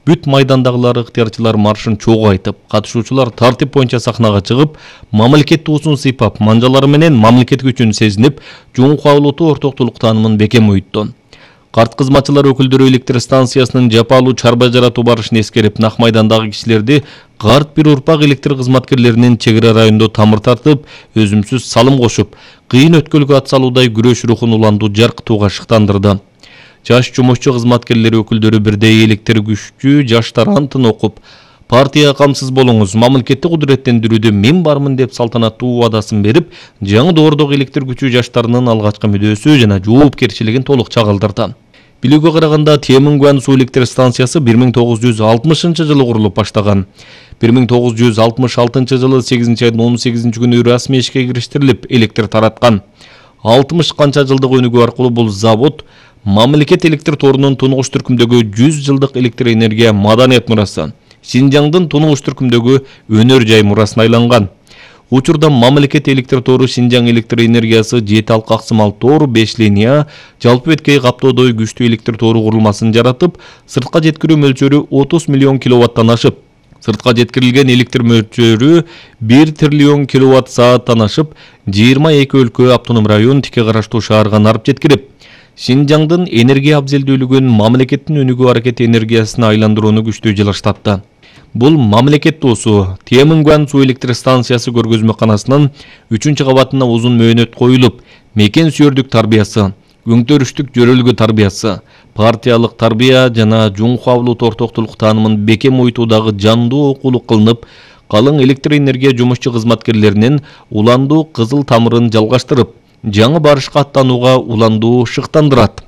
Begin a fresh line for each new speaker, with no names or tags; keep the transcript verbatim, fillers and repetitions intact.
Бүт майдандагылар ыктыярчылар маршын чогуу айтып, катышуучулар тартип боюнча сахнага чыгып, мамлекет туусун сыйпап, манжалары менен мамлекет күчүн сезинип, жуңку авлуту ортоктулук таанымын бекем уютту. Карт кызматчылар өкүлдөрү электр станциясынын жапалуу чарба жаратуу барышын эскерип, Нак майдандагы кишилерди карт бир урпак электр кызматкерлеринин чек ара районунда тамыр тартып, өзүмсүз салым кошуп, кыйын өткөлгө ат салуудай күрөш рухун уландуу жаркытууга шыктандырды. Жаш жумушчу кызматкерлери өкүлдөрү бирдей электр күчтүү жаштар антын окуп, партия камсыз болуңуз, мамлекетти кудуреттендирүүдө мен бармын деп салтанаттуу убадасын берип, жаңы доордогу электр күчүү жаштарынын алгачкы мүдөөсү жана жоопкерчилигин толук чагылдырды. Билүүгө караганда Темингуан суу электр станциясы бир миң тогуз жүз алтымышынчы жылы курулуп баштаган. бир миң тогуз жүз алтымыш алтынчы жылы сегизинчи айдын он сегизинчи күнү расмий ишке кириштирилип, электр тараткан. алтымыш канча жылдык өнүгүү аркылуу бул завод мамлекет электр торунун тунугуш түркүмдөгү жүз жылдык электр энергия маданият мурасы, Шинжаңдын тунугуш түркүмдөгү өнөр жай мурасына айланган. Учурда мамлекет электр тору Шинжаң электр энергиясы жети алка аксымал тор, беш линия, жалпы беткей каптоодой күчтүү электр тору курулмасын жаратып, сыртка жеткирүү мөлчөрү отуз миллион киловаттан ашып, сыртка жеткирилген электр мөлчөрү бир триллион киловатт сааттан ашып, жыйырма эки өлкө, автоном район, тике караштуу шаарга нарып жеткирип, Шинжаңдын энергия абзелдүүлүгүн мамлекеттин өнүгүү аракети энергиясына айландырууну күчтүү жылыштатты. Бул мамлекет туусу Темингуан суу электр станциясы көргөзмөканасынын үчүнчү кабатына узун мөөнөт коюлуп, мекен сүйөрдүк тарбиясы, өңтөрүштүк жөрөлгү тарбиясы, партиялык тарбия жана жуңку авлут ортоктулук таанымын бекем уютуудагы жандуу окуулук кылынып, калың электр энергия жумушчу кызматкерлеринин уландуу кызыл тамырын жалгаштырып, жаңы барышка аттанууга уландуу шыктандырат.